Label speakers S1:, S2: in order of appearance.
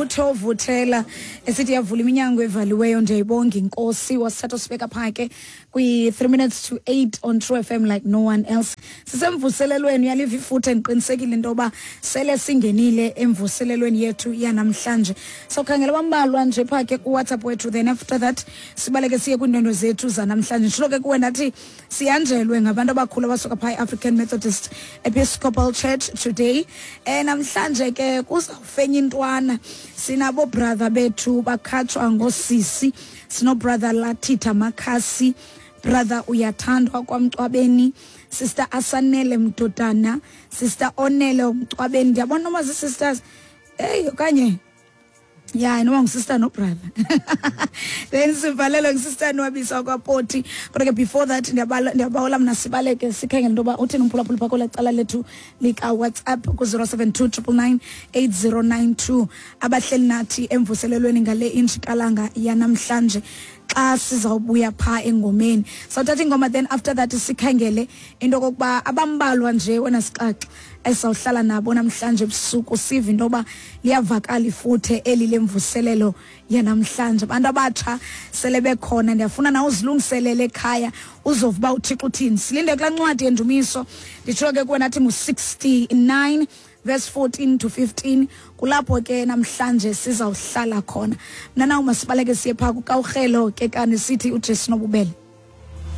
S1: Ngutho Vuthela esithi yavula iminyango evaliweyo. Ndiyayibonga inkosi. Wasithatha usibeka phaa ke kwi-3 minutes to 8 on True FM like no one else. Sisemvuselelweni, uyaliva ifuthe, ndiqinisekile into yoba sele singenile emvuselelweni yethu yanamhlanje. Sawukhangela bambalwa nje phaa ke kuWhatsApp wethu, then after that sibaleke siye kwiindwendwe zethu zanamhlanje. Nditshilo ke kuwe ndathi sihanjelwe ngabantu abakhulu abasuka phaa i-African Methodist Episcopal Church today. Namhlanje ke kuzawufenya intwana, sinabo brother bethu bakhatshwa ngosisi. Sino-brother Lathitha Makhasi, brother Uyathandwa kwaMcwabeni, sister Asanele Mdodana, sister Onele Mcwabeni. Ndiyabona noma zii-sisters eyi okanye ya noma ngusister nobrother. Then sivalelwe ngusister Nwabisa kwaPoti. Kodwa ke before that ndiyabawela mna sibaleke sikhangele into yoba uthini umphulaphuli phaa kwela cala lethu likaWhatsApp ku-072 999 8092, abahleli nathi emvuselelweni ngale injikalanga yanamhlanje. Xa sizawubuya phaa engomeni, sawuthatha ingoma, then after that sikhangele into okokuba abambalwa nje wena sixaxa esizawuhlala nabo namhlanje ebusuku, sive into yoba liyavakala ifuthe eli lemvuselelo yanamhlanje. Abantu abatsha sele bekhona, ndiyafuna nawe uzilungiselele ekhaya, uzova uba uThixo uthini. Silinde kulaa ncwadi yendumiso. Nditsho ke kuwe nathi ngu-69 verse 14 to 15, kulapho ke namhlanje sizawuhlala khona. Mna nawe masibaleke siye phaa kukawurhelo ke kani, sithi uJesu nobubele.